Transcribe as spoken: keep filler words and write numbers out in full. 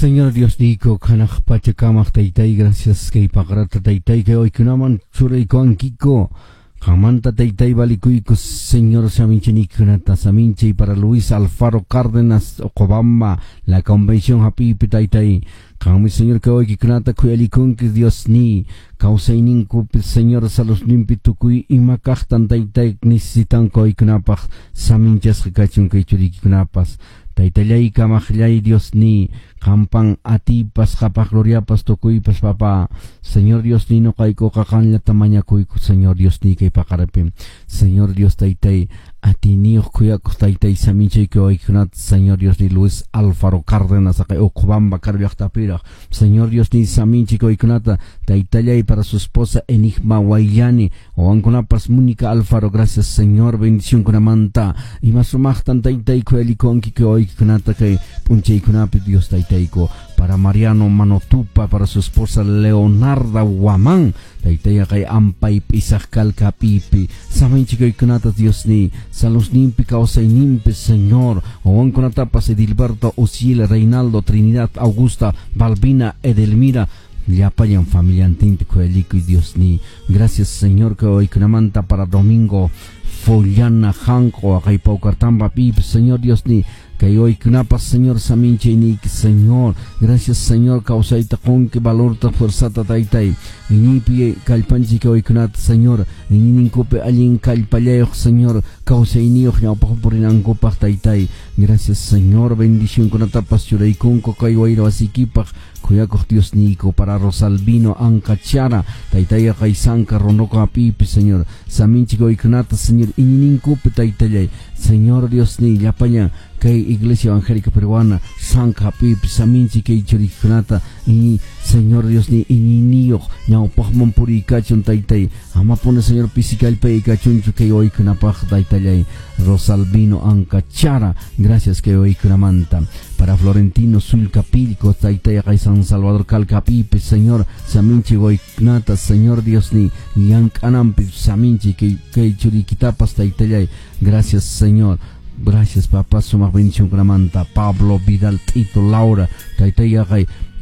Señor Dios niyku, hanaq pacha kamaq taytay, gracias kay paqarata taytay kay wawaykunaman churaykuwankiku. Qanmanta taytay valikuyku, Señor, saminchaynikunata, saminchay para Luis Alfaro Cárdenas Ocobamba, la convención hap'iypi taytay. Qanmi, Señor, kay wawaykikunata khuyalikunki, Dios ni, kawsayninkupi, Señor, saludninpi tukuy ima kaqtan taytay necesitanku wawaykunapaq saminchasqa kachun kay churiykikunapas. Taytallay kamaqllay Dios ni, qampan atiypas qhapaq gloriapas tukuypas papá. Señor Dios ni, nuqaykuqa qanllata mañakuyku, Señor Dios ni, kay paqaripi. Señor Dios taytay, atiyniyuq khuyakuq taytay saminchayku wawaykikunata, Señor Dios ni, Luis Alfaro Cárdenas aqay Uqubamba karu llaqtapiraq. Señor Dios ni, saminchayku wawaykunata taytallay para su esposa Enigma Guayani, wawankunapas Mónica Alfaro, gracias, Señor, bendición kunamanta. Ima sumaqtan taytay khuyalikuwanki kay wawaykikunata kay p'unchaykunapi, Dios taytayku. Para Mariano Manotupa, para su esposa Leonarda Guamán, taytay kay ampay pisaq kalkapipi, saminchaykunata Dios ni, saludninpi kawsayninpi, Señor, wawankunatapas Edilberto, Uciel, Reinaldo, Trinidad, Augusta, Balbina, Edelmira, llapallan familiantinpi khuyalikuy Dios ni. Gracias, Señor, kay wawaykunamanta para Domingo Follana Hanko, kay Paucartamba pip, Señor Dios ni, kay wawaykunapas, Señor, saminchayniyki, Señor. Gracias, Señor, kawsayta qunki, valorta, fuerzata taytay. Iñiypi kallpanchik kay wawaykunata, Señor, iñiyninkupi allin kallpallayuq, Señor, kawsayniyuq ñawpaq purinankupaq taytay. Gracias, Señor, bendicionkunatapas churaykunku kay wayra wasiykipaq khuyakuq Dios niyku. Para Rosalvino Ancachara, taytay kay Sanka Ronoco apipi, Señor, saminchik wawaykunata, Señor, iñiyninkupi taytallay. Señor Dios ni, llapallan kay Iglesia Evangélica Peruana Sanka apipi saminchik kay churikunata iñi, Señor Dios ni, iñiyniyuq ñawpaqman puriykachun taytay. Amapuni, Señor, pisi kallpay kachunchu kay wawaykunapaq taytallay. Rosalvino Ancachara, gracias kay wawaykunamanta. Para Florentino Sulcapilco, taytay kay San Salvador Calcapipe, Señor, saminchik wawaykunata, Señor Dios ni, llank'ananpi saminchik kay kay churiykitapas taytallay. Gracias, Señor. Gracias, papá, sumaq bendición kunamanta. Pablo Vidal Tito Laura, taytay kay